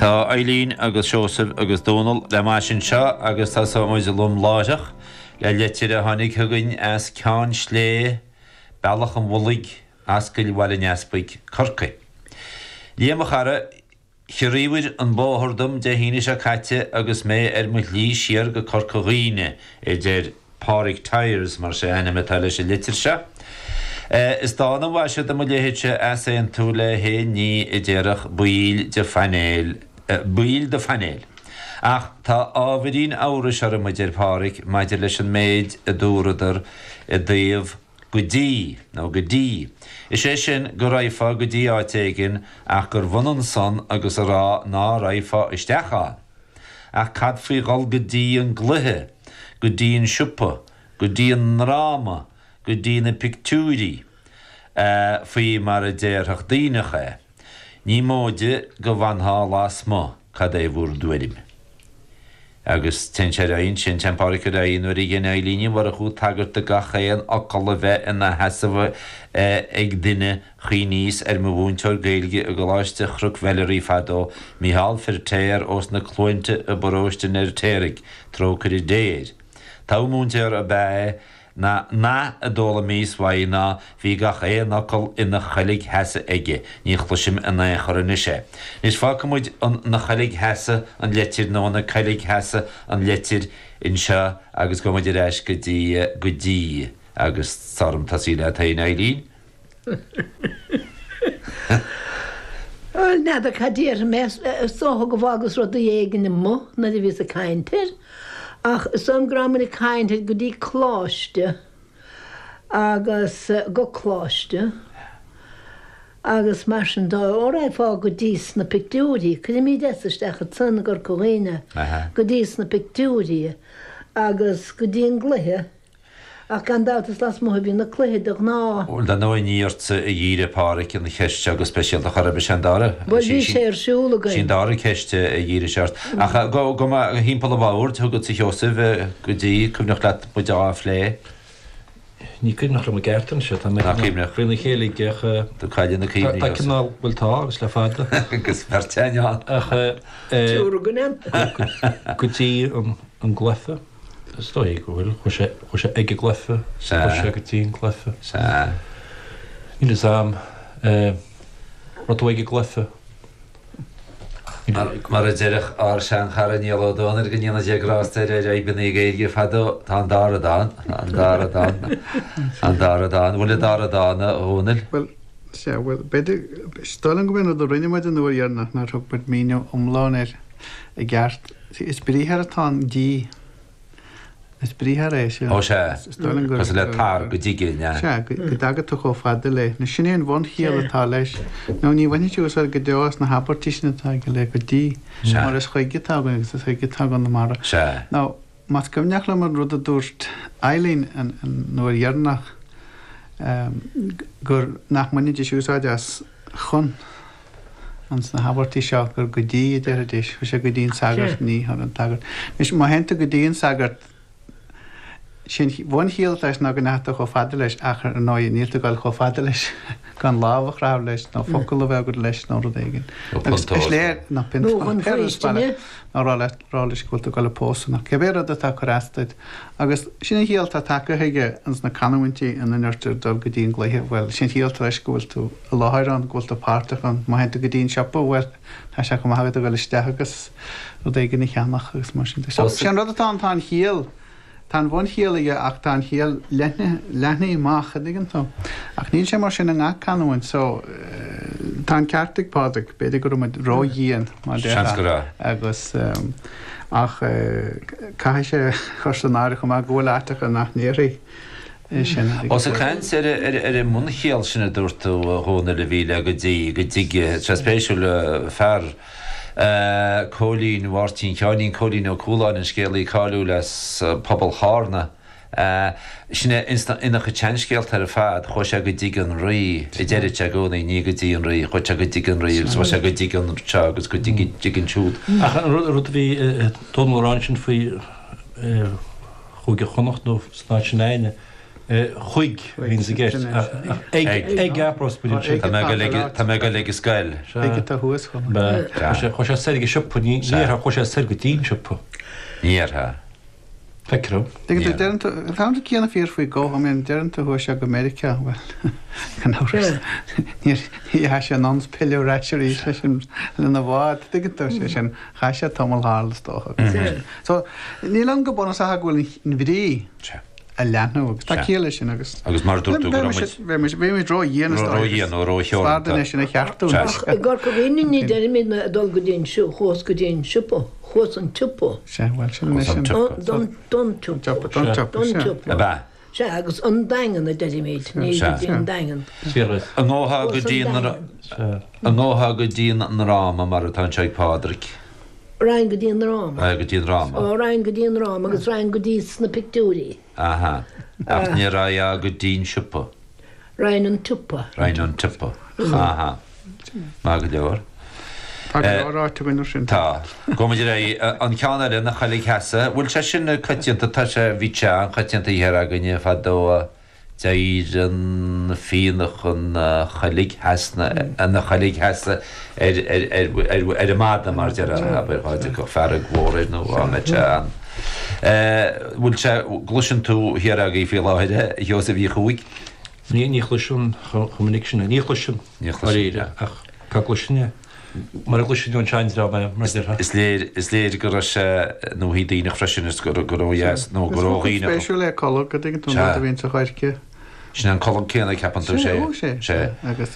Tá Eileen agus Seosamh agus Dónal le m'ais anseo agus tosóidh muid lom láithreach le litir a tháinig chugainn as Ceann Slé, Bealach an Mhullaigh, Ascaill Bhaile an Easpaig, Corcaigh. Liam a chara, Chiorraíobhair an bóthar dom Dé hAoine seo caite agus mé ar mo shlí siar go Corca Dhuibhne, a deir Pádraig Tyers, mar is é a ainm atá leis an litir seo. Is dána an mhaise do mo leithéidse easaontú le haon ní a déarfadh baill de phainéal, baill de phainéal. Ach tá ábhairín amhrais orm, a deir Pádraig, maidir leis an méid a dúradar i dtaobh go dtí, nó go dtí. Is é sin, go raghfá go dtí áit éigin ach gurbh ionann san agus a rá ná raghfá isteach ann. Ach cad faoi dhul go dtí an gcluiche, go dtí an siopa, go dtí an ndráma, go dtí na pictiúirí, faoi mar a déarfadh daoineach é? Ní móide go bhfanfá lasmuigh, cad é bhur dtuairim? Agus téann sé ar aghaidh ansin, téann Pádraic ar aghaidh, nuair a dhein Eilín Ní Mhurchú tagairt do gach aon fhocal a bheith ina sheasamh ag duine, chuimhníos ar mo mhúinteoir Gaeilge i gColáiste Chnoc Mheilearaí fadó, Micheál Firtéar ós na Cluainte i bparóiste an Fheirtéaraigh, trócaire Dé air. Togha múinteora ab ea é, Na nath a d'fhoghlaimíos uaidh ná bhí gach aon fhocal ina choilg sheasa aige, ní chloisim in aon chor anois é. Anois fágfaidh muid an 'na choilg sheasa an leitir nó 'na coilg sheasa an leitir anseo agus gabhfaidh muid ar ais go dtí go dtí agus tá orm tosaí leat féin Eileen. Bhuel, n'fheadar cad déarfaidh mé, is dócha go bhfágas rudaí éigin amuigh nuair a bhíos ag caint air, ach is dóigh liom go raibh muid ag caint ar go dtí coláiste agus go coláiste agus mar sin de, ó raghfá go dtí sna pictiúirí, cuirimid S isteach ansan i gCorca Dhuibhne, go dtí sna pictiúirí agus go dtí an gcluiche. Ach gan dabht is lasmuigh a bhíonn na cluichí de ghnáth. Bhuel, dar ndóigh ní ortsa a dhírigh Pádhraic an cheist seo go speisialta chor ar bith, sé an dara. Bhuel, bhí sé ar siúl againn. Sí an dara ceist a dhírigh sé ort. Ach go thimpeall an bhoird chugatsa a Sheosaimh, go dtí, cuimhneach leat muid á phlé? Ní cuimhneach liom i gceart anois é, tá mé Ná cuimhneach. faoina chéile ag ach. Tú cailleadh na cuimhní, Tá cineál, bhuel tá, agus le fada. Agus beirt ann. Ach. Triúr againn ann. Go dtí an gcluiche. Is dóigh go bhfuil. Chuaigh sé, chuaigh sé ag an gcluiche. Sea. Chuaigh sé go dtí an cluiche. Sea. Níl fhios a'm. Eh, raibh tú ag an gcluiche? Mar, mar a deireadh ár seanchara Niall Ó Dónaill, go ndéana Dia grásta air ar fhadhbanna Gaeilge fadó, tá an dá rud ann, an dá rud ann, an dá rud ann. Bhfuil an dá rud ann, a Dhónaill? Bhuel, sea, bhuel, b'fhéidir, is dóigh liom go mb'é an rud a rinne muid an uair dheireanach nár thug muid míniú iomlán air i gceart. Is briathar atá ann, dtí. Is briathar é sin. Ó sea. Is dóigh liom gur. Cosúil le tar, go dtige, an ea? Sea, go dtaga tú chomh fada le. Nó sin é an bhunchiall atá leis. Nó ní bhainfidh tú úsáid go deo as na habairtí sin atá aige le go dtí. Sea. Mar is chuige atá againn agus is chuige atá i gConamara. Sea. Nó, más cuimhneach liom an rud a dúirt Eileen an uair dheireanach, gur nach mbainfidís úsáid as chun. ins na habairtí seo gur go dtí a déarfaidís, chuaigh sé go dtí an sagart, ní chun an tsagairt. Anois, má théann tú go dtí an sagart, sé an bhunchiall atá leis ná go ndeachaigh tú chomh fada leis ach ar ndóigh níl tú ag dul chomh fada leis gan lámh a chroitheadh leis nó focal a bheith agat leis nó rud éigin. Nó Agus punt is léir, nó Nó chun pé rud is faoistine. nó rá leat, rá leis go bhfuil tú ag dul a pósadh nó cibé rud atá ag cur as duit. Agus sin an chiall atá tagtha chuige ins na canúintí ina ndeirtear dul go dtí an gcluiche, bhuel, sin an chiall atá leis go bhfuil tú i láthair ann, go bhfuil tú páirteach ann. Má théann tú go dtí an siopa, bhuel, tá sé chomh maith agat a dhul isteach agus rud éigin a cheannach agus mar sin de. So, sin an rud atá ann, tá an chiall, tá an bhunchiall aige ach tá an chiall leathnaithe, leathnaithe amach, an dtuigeann tú? Ach níl sé mar sin i ngach canúint, so, tá an ceart ag Pádraig, b'fhéidir go raibh muid ró-dhian, mar a Seans go déarfá, raibh. agus ach caithfidh sé a chur san áireamh chomh maith go bhfuil áiteacha nach ndéarfaí é sin. Ós ag caint ar ar an mbunchiall sin a dúirt tú, a Dhónaill, a bhí le go dtí, go dtige, tá sé spéisiúil, fear Cóilín Mháirtín Sheáinín Cóilín Ó Cualáin, an scéalaí cáiliúil as pobal Chárna, sin é ina chuid seanscéalta ar fad, chuaigh sé go dtig an rí, a deireadh sé i gcónaí, ní go dtí an rí, chuaigh sé go dtig an rí agus chuaigh sé go dtig anseo agus go dtig ansiúd. Ach an rud a bhí Dónall a rá ansin faoi Chúige Chonnacht nó san áit sin againne. Chuig a bhíonns i gceist. Ag ag aprospid ansin. Tá mé ag dul ag tá mé ag dul ag an scoil. Ag atá thuas chomh maith. Chuaigh sé soir ag an siopa, ní déarfá chuaigh sé soir go dtí an siopa. Ní déarfá. Feictear dom. Tuigeann tú, deireann tú, tá an rud céanna fíor faoi go, I mean, deireann tú chuaigh sé go Meiriceá, bhuel, gan amhras, ní dheachaigh sé anonn 's pilleadh ar ais arís leis an, lena bhád, tuigeann tú, sé sin, chaith sé tamall thall is dócha. So, níl ann go bunúsach ach go bhfuil an bhrí a leathnú agus tá ciall leis sin agus. Agus mar a dúirt tú go raibh muid. Bhí muid ró-dhian is dóigh. Ró-dhian nó ró-theoranta. Is fearr duine é sin a cheartú. Ach i gCorca Dhuibhne ní deirimid ná ag dul go dtí an siopa, chuas go dtí an siopa, chuas an tsiopa. Sea, bhuel sin anois an. Don, don tsiopa. Don tsiopa, Don tsiopa. Ab ea? Sea, agus an Daingean a deirimid, ní go dtí an Daingean. An ngabhfá go dtí an, an ngabhfá go dtí an ndráma mar atá anseo ag Pádraig? Raghainn go dtí an ndráma. Raghainn go dtí an ndráma. Ó, raghainn go dtí an ndráma agus raghainn go dtí sna pictiúirí. Aha. Ach ní raghfá go dtí an siopa. Raghainn an tsiopa. Raghainn an tsiopa. Aha. Maith go leor. Tá go leor ráite againn ar sin. Tá. Gabhfaidh muid ar aghaidh. An ceann eile, na Choiligh Theasa. Bhfuil sé sin coitianta? Tá sé, bhí sé an-choitianta thiar againne fadó. D'éirigh an phian chun choiligh theasa na choiligh theasa ar an mada mar déarfá, abair, dhá dtiocfadh fearg mhór air nó dhá mbeadh sé an. Bhfuil sé, gcloiseann tú thiar agaibh faoi láthair é, a Sheosaimh Uí Chuaig? Ní, ní chloisim chomh minic sin é. Ní chloisim, dáiríre, ach cá gcloisfinn é? Mar a gcloisfinn ón seandream é, mar a déarfá. Is léir, is léir go raibh sé nó hí daoineach freisin is go raibh ó dheas nó go raibh Is focal spéisiúil é colg, an dtuigeann tú, an rud a bhíonn sa choirce. Sin an colg céanna, ceapann tú, sé. Sea, ó, sé. Agus.